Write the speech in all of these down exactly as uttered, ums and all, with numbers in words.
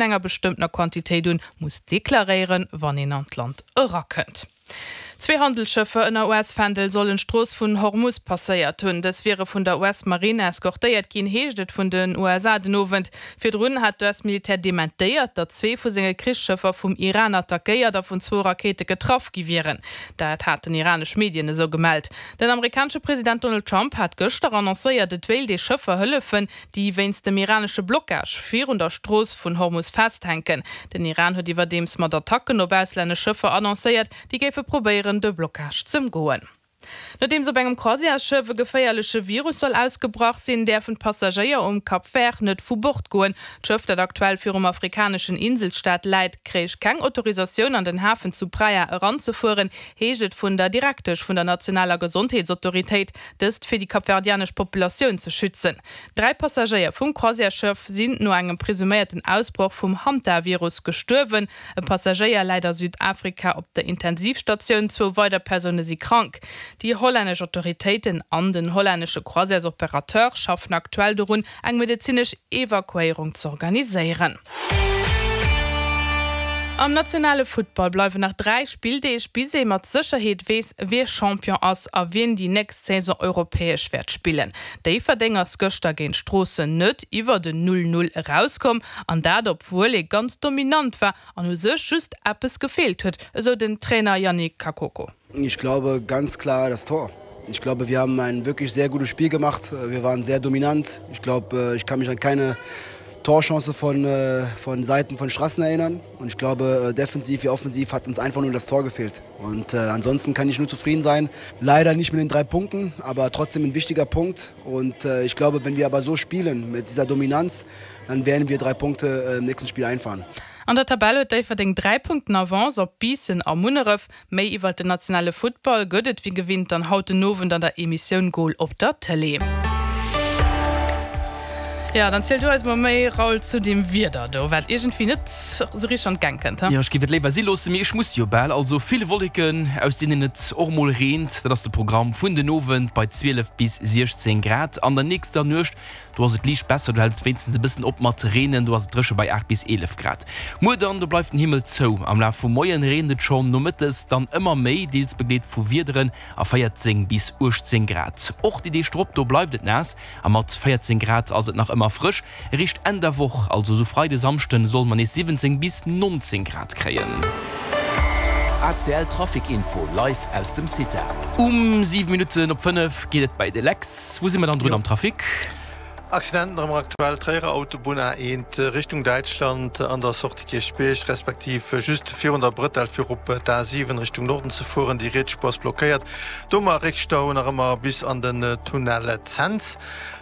enger bestëmmtener Quantitéit un muss deklaréieren, wann een an d'Land erakënnt. Zwee Handelsschëffer ënner U S-Fändel sollen d'Strooss vun Hormus passéiert hunn. Dës wiere vun der U S-Marine eskortéiert ginn, heescht et vun den U S A den Owend. Virdrun hat d'U S-Militär dementéiert, datt zwee vu senge Krichsschëffer vum Iran attackéiert a vun zwou Rakéite getraff gi wieren. Dat haten iranesch Medien esou gemellt. Den amerikanesche President Donald Trump hat gëschter annoncéiert, et wéilt ee Schëffer hëllefen, déi wéinst dem iranesche Blockage virun der Strooss vun Hormus festhänken. Den Iran huet iwwerdeems mat Attacken op auslännesch Schëffer annoncéiert, déi géife probéieren, de Blockage z'ëmgoen. Nodeems op engem Croisièresschëff e geféierleche Virus soll ausgebrach sinn, däerfen d'Passagéier um Cap Vert net vu Bord goen. D'Schëff, dat aktuell virum afrikaneschen Inselstaat läit, kréich keng Autorisatioun an den Hafen zu Praia eranzefueren, heescht et vun der Direktesch vun der nationaler Gesondheetsautoritéit, dëst fir déi kapverdianesch Populatioun ze schützen. Dräi Passagéier vum Croisièresschëff sinn no engem presuméierten Ausbroch vum Hantavirus gestuerwen. E Passagéier läit a Südafrika op der Intensivstatioun, zwou weider Persoune si krank. Déi hollännesch Autoritéiten an den hollännesche Croisièresoperateur schaffen aktuell dorun, eng medezinesch Evakuéierung z'organiséieren. Am nationale Futtball bleiwen nach dräi Spilldeeg, bis ee mat Sécherheet weess, wie Champion ass a wien déi nächst Saison europäesch wäert spillen. Déifferdeng ass gëschter géint Stroossen net iwwer den null null erauskomm, an dat obwuel ee ganz dominant war an u sech just eppes gefeelt huet, esou den Trainer Yannick Kakoko. Ich glaube ganz klar das Tor. Ich glaube, wir haben ein wirklich sehr gutes Spiel gemacht. Wir waren sehr dominant. Ich glaube, ich kann mich an keine Torchance von, von Seiten von Strassen erinnern. Und ich glaube, defensiv wie offensiv hat uns einfach nur das Tor gefehlt. Und äh, ansonsten kann ich nur zufrieden sein. Leider nicht mit den drei Punkten, aber trotzdem ein wichtiger Punkt. Und äh, ich glaube, wenn wir aber so spielen mit dieser Dominanz, dann werden wir drei Punkte im nächsten Spiel einfahren. An der Tabell huet Déifferdeng dräi Punkten Avance op Biissen a Munneref. Méi iwwer den nationale Futtball gëtt et wéi gewinnt dann haut den Owend an der Emissioun Goal op der Tëlee. Ja, dann erziel du eis mol méi, Raoul, zu dem Wieder do, wat iergendwéi net sou richteg an d'Gäng kënnt. Jo, ech géif et léiwer si loossen, mee ech muss jo bal. Also vill Wolleken, aus deenen et och mol reent, dat ass de Programm vun den Owend bei zwielef bis siechzéng Grad. An der nächster Nuecht, do ass et liicht besser, do hält et wéinstens e bëssen op mat reenen, do ass et dréche bei aacht bis eelef Grad. Muer dann, do bleift den Himmel zou. Am Laf vum Moien reent et schonn, nomëttes dann ëmmer méi, deels begleet vu Wiederen a véierzéng bis uechtzéng Grad. Och déi Deeg drop, do bleift et naass a mat véierzéng Grad ass et nach ëmmer frësch. Eréischt Enn der Woch, also sou Freide, Samschden, solle mer nees siwwenzéng bis nonzéng Grad kréien. A C L Trafic Info live aus dem Cita. Um siwe Minutten op fënnef geet et bei de Lex. Wou si mer dann drun am Trafic? Accident am aktuell Tréierer Autobunn A eent Richtung Däitschland an der Sortie Kierchbierg respektiv just virun der Brëtell fir op d'A siwen Richtung Norden ze fueren. Déi riets Spuer ass blockéiert. Do mar Réckstau nach ëmmer bis an den Tunnel Cents.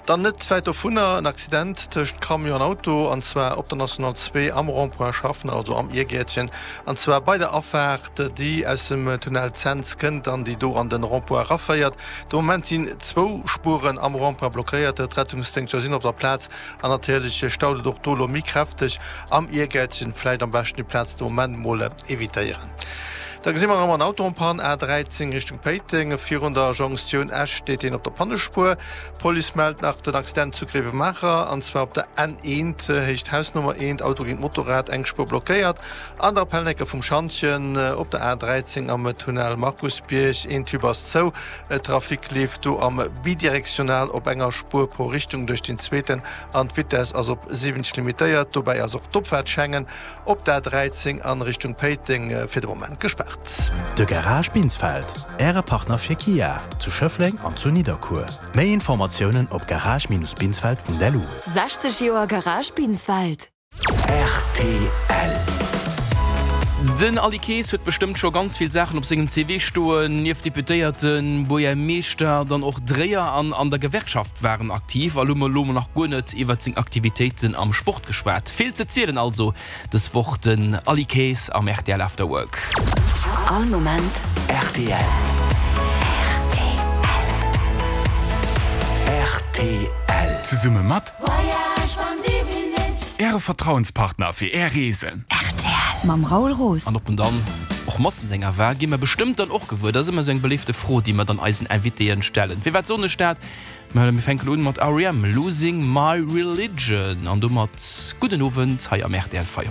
Dann net wäit dovunner en Accident tëscht Camion an Auto an zwar op der National zwee am Rond-point Schaffner, also am Iergäertchen, an zwar bei der Afaart déi aus dem Tunnel Cents kënnt an déi do an den Rond-point eraféiert. De Moment sinn zwou Spueren am Rond-point blockéiert, d'Rettungsdéngschter sinn op der Plaz an natierlech staut et och do elo méi kräfteg am Iergäertchen. Vläicht am beschten déi Plaz de Moment mol evitéieren. Da gesi mer erëm en Auto en panne, A dräizéng Richtung Péiteng, virun der Jonktioun Esch steet deen op der Pannespuer. D'Police mellt nach den Accident zu Gréiwemaacher, an zwar op der N eent, Héicht Hausnummer eent, Auto géint Motorrad, eng Spuer blockéiert. An der Appelnecke vum Schantjen op der A dräizéng am Tunnel Markusbierg, een Tube ass zou, Trafic leeft do am bidirektional op enger Spuer pro Richtung duerch den zweeten an d'Vitess ass op siwwenzeg limitéiert. Dobäi ass och d'Opfaart Schengen op der A dräizéng an Richtung Péiteng fir de Moment gespaart. De Garage Binsfeld, Äre Partner fir Kia, zu Schëffleng an zu Nidderkuer. Méi Informatiounen op garage Binneschtrich binsfeld Punkt L U. sechzeg Joer Garage Binsfeld. R T L. Den Aly Kaes huet bestëmmt scho ganz vill Saachen op sengem C V stoen, nieft Deputéierten, Buergermeeschter, dann och Dréier an an der Gewerkschaft war en aktiv. A lo hu mer nach guer net iwwer seng Aktivitéiten am Sport geschwat. Vill ze zielen also dës Woch den Aly Kaes am R T L After Work. All Moment R T L. R T L. Zesumme mat Äre Vertrauenspartner fir Är Reesen. R T L. Mam Raoul Roos. An ob en dann och Massendénger war, gi mer bestëmmt dann och gewuer. Dat ass ëmmer sou eng beléifte Fro, déi mer dann eisen Invitéen stellen. Firwat soen ech dat? Mä mir fänken un mat R E M, Losing My Religion. An domat gudden Owend hei am R T L Feierowend.